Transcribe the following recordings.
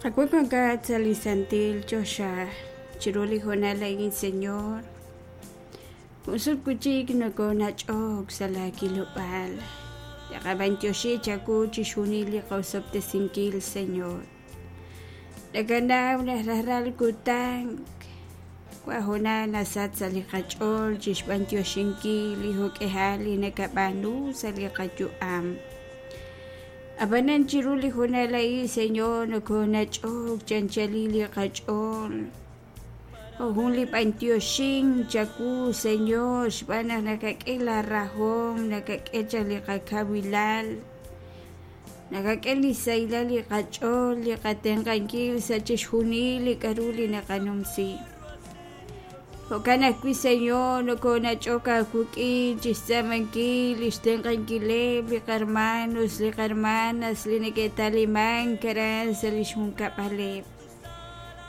Qawa' wankat sa' li santil choxa chiru li hoonal a'in, Señor. Jun sut wi' chik nokoonach'ok sa' laakilob'aal. Naqab'anyoxi chawu chixjunil li qosob'tesinkil, Señor. Nakanaw naq rajlal kutan wa hoonal nasach sa' li qach'ool chi xb'anyoxinkil li jo'k'ihal li nakab'aanu sa' li qayu'am. Ab'anan chiru li hoonal a'in, Señor, nokoonach'ok chi anchalil li qach'ool. Jo' jun li b'antioxink chawu, Señor, xb'aan naq nakak'e laa rahom, nakak'e chaq li qakawilal, nakak'e li sahilal li qach'ool, li qatenq'ankil sa' chixjunil li k'a'ru li naqanumsi. Jo'kan ajwi', Señor, nokonach'ok aawik'in chixtz'aamankil lix tenq'ankileb' li qarmanos, li qarmanas li neke'talimank aran sa' lix junkab'aleb'.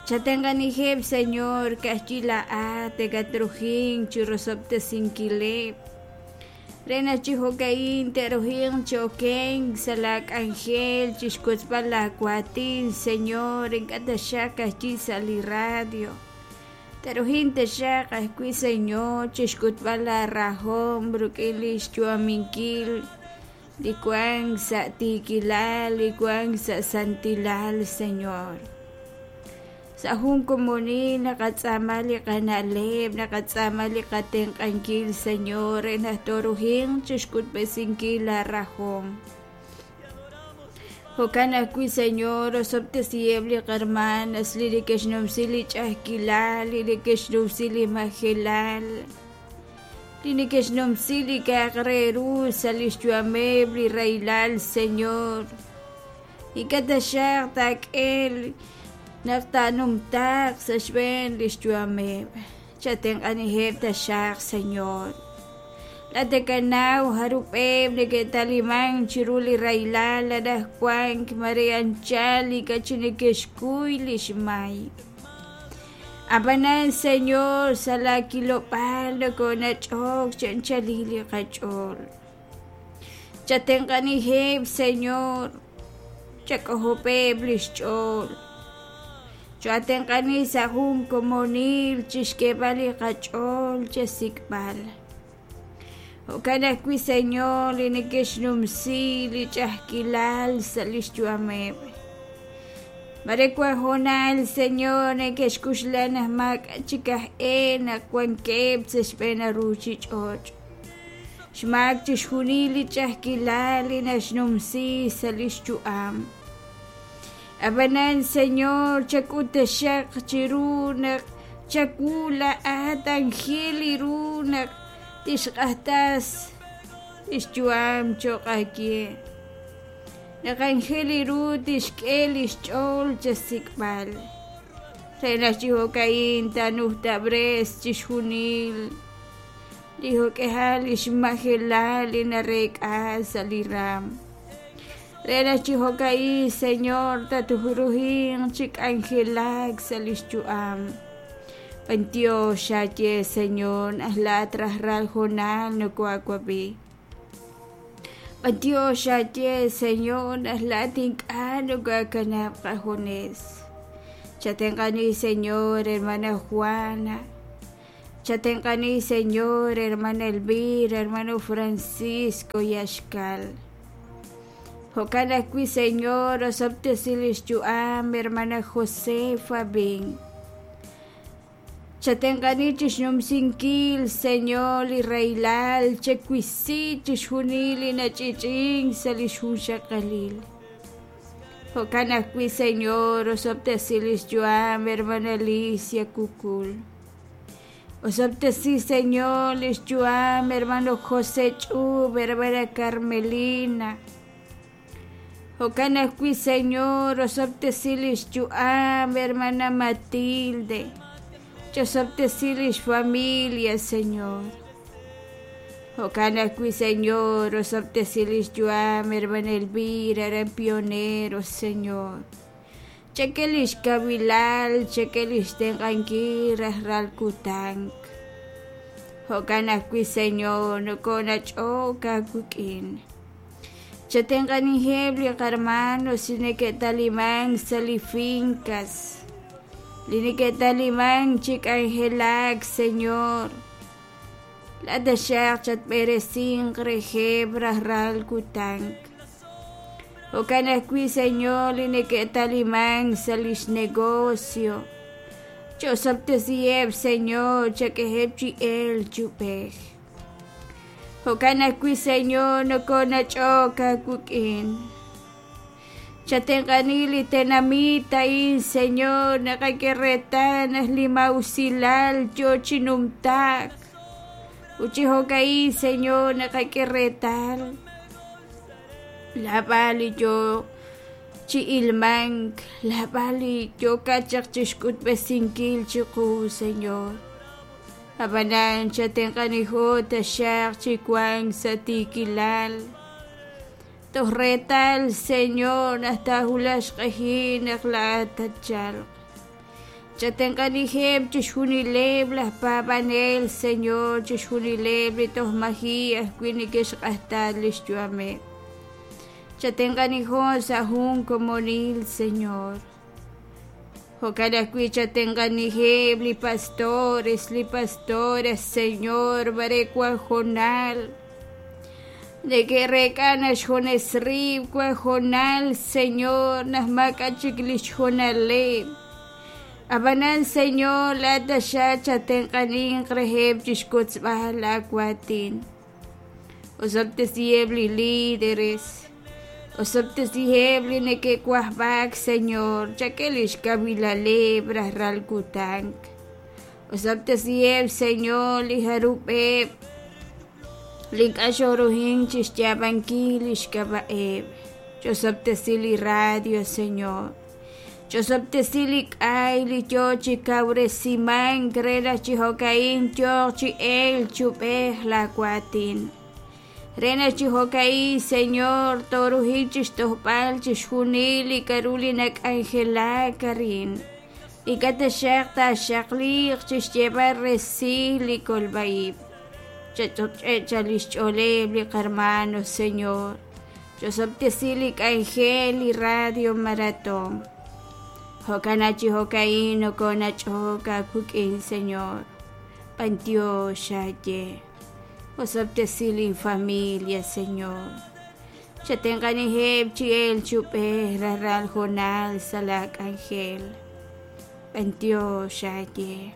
Chatenq'aniheb', Señor, ka'ajwi' laa'at nakatrujink chirosob'tesinkileb', re naq chi jo'ka'in te'rujinq chi okenk sa' laa k'anjel chixwotzb'al laa waatin, Señor, ink'a' taxaq ka'ajwi' sa' li radio. Te'rujin taxaq ajwi', Señor, chixk'utb'al laa rahom rik'in lix yu'aminkil li wank sa' tiikilal, li wank sa' santilal, Señor. Sa' jun komonil naqatz'aama li qana'leb', naqatz'aama li qatenq'ankil, Señor, re naq toorujinq chixk'utb'esinkil laa rahom. Jo'kan ajwi', Señor, osob'tesiheb' li qarmanas li neke'xnumsi li ch'a'ajkilal, li neke'xnumsi li majelal, li neke'xnumsi li k'a'aq re ru sa' lix yu'ameb' li rahilal, Señor. Ink'a' taxaq taak'e naq taanumtaaq sa' xb'een lix yu'ameb'. Chatenq'aniheb' taxaq, Señor. Laa'at nakanaw jarub'eb' neke'talimank chiru li rahilal anaqwank mare anchal ink'a' chik neke'xkuy li xmay. Ab'anan, Señor, sa' laakilob'aal nokoonach'ok chi anchalil li qach'ool. Chatenq'aniheb', Señor, chak'ojob'eb' li xch'ool. Cho'atenq'ani sa' jun komonil chi xk'eeb'al li qach'ool chesik'b'al. Jo'kan ajwi', Señor, li neke'xnumsi li ch'a'ajkilal sa' li xyu'ameb'. Mare wank hoonal, Señor, neke'xk'uxla naq maak'a' chik aj e naq wankeb' sa' xb'een ruuchich'och'. Xmaak chixjunil li ch'a'ajkilal li naxnumsi sa' li xyu'am. Ab'anan, Señor, chak'ut taxaq chiru naq chawu laa'at anjel li ru naq tixq'axtas li xyu'am cho'q aawe. Naq anjel li ru tixk'e li xch'ool chasik'b'al, re naq chi jo'ka'in taanujtab'res chixjunil li jo'k'ihal li xmajelal li nareek'a sa' li raanm. Re naq chi jo'ka'in, Señor, tatruhinq chi k'anjelak sa' lix yu'am. B'antiox xaye, Señor, naq laa'at rajlal hoonal nokohaawab'i. B'antiox xaye, Señor, naq laa'at ink'a' nokaakanab' qajunes. Chatenq'ani, Señor, hermana Juana. Chatenq'ani, Señor, hermana Elvira, hermano Francisco Yaxcal. Jo'kan ajwi', Señor, osob'tesi lix yu'am, hermana Josefa Bin. Chatenq'ani chixnumsinkil, Señor, li rahilal, chewisi chixjunil li nach'ich'ink sa' lix junxaqalil. Jo'kan ajwi', Señor, osob'tesi lix yu'am, hermana Alicia Cucul. Osob'tesi, Señor, lix yu'am, hermano José Ch'ub, hermana Carmelina. Jo'kan ajwi', Señor, osob'tesi lix yu'am, hermana Matilde. Chosob'tesi lix familia, Señor. Jo'kan ajwi', Señor, osob'tesi lix yu'am, hermana Elvira, aran Pionero, Señor. Chak'e li xkawilal, chak'e li xtenq'ankil rajlal kutan. Jo'kan ajwi', Señor, nokoonach'ok aawik'in. Chatenq'aniheb' li qarmanos li neke'talimank sa' li fincas, li neke'talimank chi k'anjelak, Señor. Laa'at taxaq chatb'eresinq reheb' rajlal kutan. Jo'kan ajwi', Señor, li neke'talimank sa' lix negocio. Ch'osob'tesiheb', Señor, chak'eheb' chi elk chi ub'ej. Jo'kan ajwi', Señor, nokonach'ok aawik'in. Chatenq'ani li tenamit a'in, Señor, naqak'e reetal naq li maa'usilal yoo chi numtaak. Ut chi jo'ka'in, Señor, naqak'e reetal lab'al li yoo chi ilmank, lab'al li yookat chaq chixk'utb'esinkil chiqu, Señor. Ab'anan chatenq'anijo taxaq chi wank sa' tiikilal. Toj reetal, Señor, naq taawulaq xq'ehil naq laa'at tatchalq. Chatenq'aniheb' chixjunileb' laj paab'anel, Señor, chixjunileb' li toj maji' ajwi' neke'xq'ajta li xyu'ameb'. Chatenq'anijo sa' jun komonil, Señor. Jo'kan ajwi' chatenq'aniheb' li pastores, li pastoras, Señor, mare wan hoonal neke'reek'a naq xjunes rib' wan hoonal, Señor, naq maak'a' chik li xhoonaleb'. Ab'anan, Señor, laa'at taxaq chatenq'aninq reheb' chi xkotzb'al laawaatin. Osob'tesiheb' li líderes, osob'tesiheb' li neke'wajb'ak, Señor, chak'e lix kawilaleb' rajlal kutan. Osob'tesiheb', Señor, li jarub'eb' li ink'a' xooruhink chixyaab'ankil lix k'ab'a'eb'. Ch'osob'tesi li radio, Señor. Ch'osob'tesi li k'ay li yoo chi kawresimank re naq chi jo'ka'in yooq chi elk chi ub'ej laa waatin. Re naq chi jo'ka'in, Señor, tooruhik chixtojb'al chixjunil li k'a'ru li nak'anjelak arin. Ink'a' taxaq taaxaqliiq chixyeeb'al resil li kolb'a-ib'. Chach'och'e' lix ch'ooleb' li qarmano, Señor. Ch'osob'tesi li k'anjel li Radio Maratón. Jo'kan chi jo'ka'in nokonach'ok aawik'in, Señor. B'antiox aaye. Osob'tesi lin familia, Señor. Chatenq'aniheb' chi elk chi ub'ej rajlal hoonal sa' laa k'anjel. B'antiox aaye.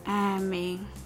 Amén.